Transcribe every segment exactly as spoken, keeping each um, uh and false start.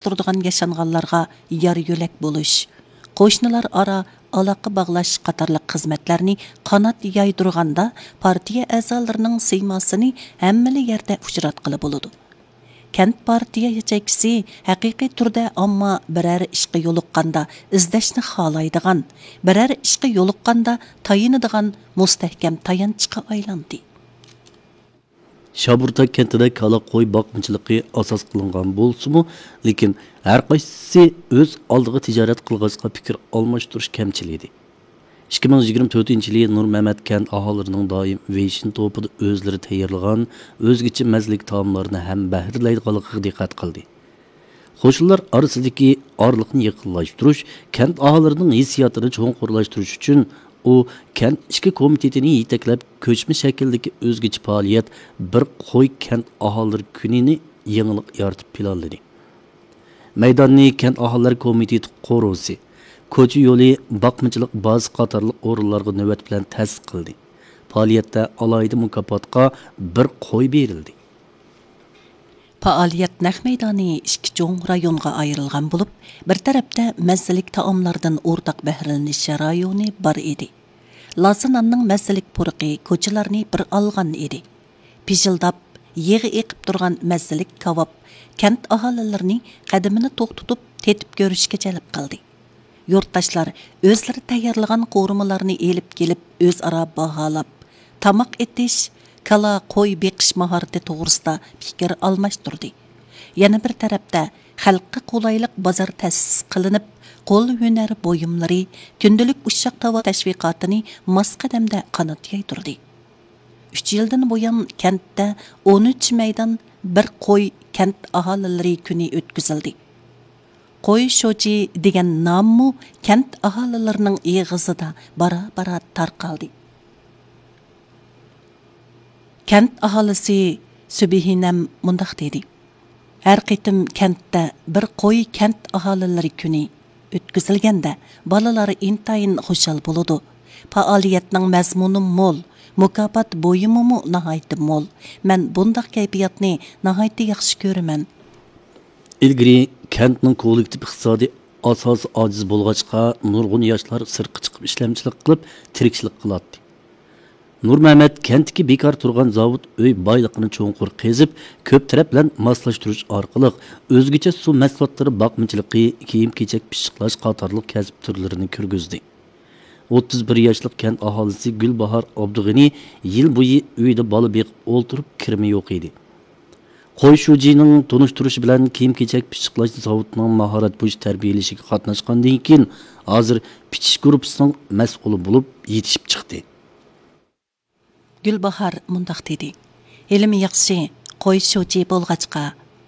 تۇرىدىغان ياشانغانلارغا يار يۆلەك بولۇش، قوشنىلار ئارا ئالاقە باغلاش قاتارلىق خىزمەتلەرنى قانات يايدۇرغاندا، پارتىيە ئەزالىرىنىڭ سىيماسىنى ھەممىلا يەردە ئۇچراتقىلى بولىدۇ. كەنت پارتىيە ياچېيكىسى ھەقىقىي تۈردە ئامما بىرەر ئىشقا يولۇققاندا ئىزدەشنى خالايدىغان، بىرەر ئىشقا يولۇققاندا تايىنىدىغان مۇستەھكەم تايانچقا ئايلاندى. شابۇرتا كەنتىدە كالا، قوي باقمىچىلىقى ئاساس قىلىنغان بولسىمۇ، لېكىن ھەر قايسىسى ئۆز ئالدىغا تىجارەت قىلغاچقا پىكىر ئالماشتۇرۇش كەمچىل ئىدى. ئىككى مىڭ يىگىرمە تۆتىنچى يىلى نۇرمەمەت كەنت ئاھالىلىرىنىڭ دائىم ۋېيشىن توپىدا ئۆزلىرى تەييارلىغان ئۆزگىچە مەززىلىك تائاملارنى ھەم بەھرىلەيدىغانلىقىغا دىققەت قىلدى. قوشنىلار ئارىسىدىكى ئارىلىقنى يېقىنلاشتۇرۇش، كەنت ئاھالىلىرىنىڭ ھېسسىياتىنى چوڭقۇرلاشتۇرۇش ئۈچۈن، ئۇ كەنت ئىچكى كومىتېتىنى يېتەكلەپ، كۆچمە شەكىلدىكى ئۆزگىچە پائالىيەت، بىر قوي كەنت ئاھالىلىرى كۈنىنى يېڭىلىق يارىتىپ پىلانلىدى. مەيداننى كەنت ئاھالىلەر كومىتېتى قورۇسى، كوچا يولى، باقمىچىلىق بازىسى قاتارلىق ئورۇنلارغا نۆۋەت بىلەن تەسىس قىلدى. پائالىيەتتە ئالاھىدە مۇكاپاتقا بىر قوي بېرىلدى. پائالىيەت نەق مەيدانى ئىككى چوڭ رايونغا ئايرىلغان بولۇپ، بىر تەرەپتە مەززىلىك تائاملاردىن ئورتاق بەھرىلىنىش رايونى بار ئىدى. لازا ناننىڭ مەززىلىك پۇرىقى كوچىلارنى بىر ئالغان ئىدى. پىژىلداپ، يېغى ئېقىپ تۇرغان مەززىلىك كاۋاپ كەنت ئاھالىلىرىنى قەدىمىنى توختىتىپ تېتىپ كۆرۈشكە جەلپ قىلدى. يۇرتداشلار ئۆزلىرى تەييارلىغان قورۇمىلارنى ئېلىپ كېلىپ، ئۆزئارا باھالاپ، تاماق ئېتىش، كالا، قوي بېقىش ماھارىتى توغرىسىدا پىكىر ئالماشتۇردى. يەنە بىر تەرەپتە، خەلققە قولايلىق بازار تەسىس قىلىنىپ، قول ھۈنەر بۇيۇملىرى، كۈندىلىك ئۇششاق تاۋار تەشۋىقاتىنى ماس قەدەمدە قانات يايدۇردى. ئۈچ يىلدىن بۇيان كەنتتە ئون ئۈچ مەيدان بىر قوي كەنت ئاھالىلىرى كۈنى ئۆتكۈزۈلدى. قوي شوچى دېگەن ناممۇ كەنت ئاھالىلىرىنىڭ ئېغىزىدا بارا-بارا تارقالدى. كەنت ئاھالىسى سۈبھىنەم مۇنداق دېدى: ھەر قېتىم كەنتتە بىر قوي كەنت ئاھالىلىرى كۈنى ئۆتكۈزۈلگەندە، بالىلار ئىنتايىن خۇشال بولىدۇ. پائالىيەتنىڭ مەزمۇنى مول، مۇكاپات بۇيۇمىمۇ ناھايىتى مول. مەن بۇنداق كەيپىياتنى ناھايىتى ياخشى كۆرىمەن. ئىلگىرى كەنتنىڭ كوللېكتىپ ئىقتىسادىي ئاساسى ئاجىز بولغاچقا، نۇرغۇن ياشلار سىرتقا چىقىپ ئىشلەمچىلىك قىلىپ، تىرىكچىلىك قىلاتتى. نۇرمەمەت كەنتتىكى بىكار تۇرغان زاۋۇت ئۆي بايلىقىنى چوڭقۇر قېزىپ، كۆپ تەرەپ بىلەن ماسلاشتۇرۇش ئارقىلىق، ئۆزگىچە سۇ مەھسۇلاتلىرى باقمىچىلىقى، كىيىم-كېچەك پىششىقلاش قاتارلىق كەسىپ تۈرلىرىنى كىرگۈزدى. ئوتتۇز بىر ياشلىق كەنت ئاھالىسى گۈلباھار ئابدۇغېنى يىل بويى ئۆيىدە بالا بېقىپ ئولتۇرۇپ، كىرىمى يوق ئىدى. قوي شۇجىنىڭ تونۇشتۇرۇشى بىلەن كىيىم-كېچەك پىششىقلاش زاۋۇتىنىڭ ماھارەت بويىچە تەربىيەلىشىگە قاتناشقاندىن كېيىن، ھازىر پىچىش گۇرۇپپىسىنىڭ مەسئۇلى بولۇپ يېتىشىپ چىقتى. گۈلباھار مۇنداق دېدى: ھېلىمۇ ياخشى، قوي شۇجى بولغاچقا،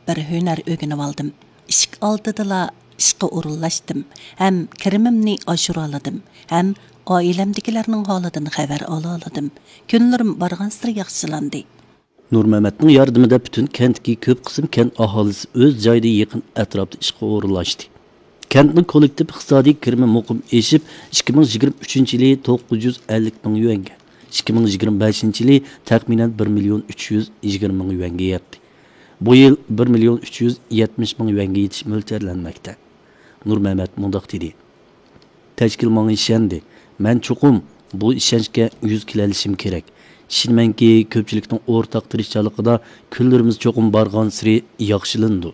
بىر ھۈنەر ئۆگىنىۋالدىم. ئىشىك ئالدىدىلا ئىشقا ئورۇنلاشتىم ھەم كىرىمىمنى ئاشۇرالىدىم ھەم ئائىلەمدىكىلەرنىڭ ھالىدىن خەۋەر ئالالىدىم. كۈنلىرىم بارغانسېرى ياخشىلاندى. نۇرمەمەتنىڭ ياردىمىدە پۈتۈن كەنتتىكى كۆپ قىسىم كەنت ئاھالىسى ئۆز جايىدا يېقىن ئەتراپتا ئىشقا ئورۇنلاشتى. كەنتنىڭ كوللېكتىپ ئىقتىسادىي كىرىمى مۇقىم ئېشىپ، ئىككى مىڭ يىگىرمە ئۈچىنچى يىلى توققۇز يۈز ئەللىك مىڭ يۈەنگە، ئىككى مىڭ يىگىرمە بەشىنچى يىلى تەخمىنەن بىر مىليون ئۈچ يۈز يىگىرمە مىڭ يۈەنگە يەتتى. بۇ يىل بىر مىليون ئۈچ يۈز يەتمىش مىڭ يۈەنگە يېتىش مۆلچەرلەنمەكتە. نۇرمەمەت مۇنداق دېدى: تەشكىل ماڭا ئىشەندى. مەن چوقۇم بۇ ئىشەنچكە يۈز كېلەلىشىم كېرەك. ئىشىنىمەنكى، كۆپچىلىكنىڭ ئورتاق تىرىشچانلىقىدا كۈنلىرىمىز چوقۇم بارغانسېرى ياخشىلىنىدۇ.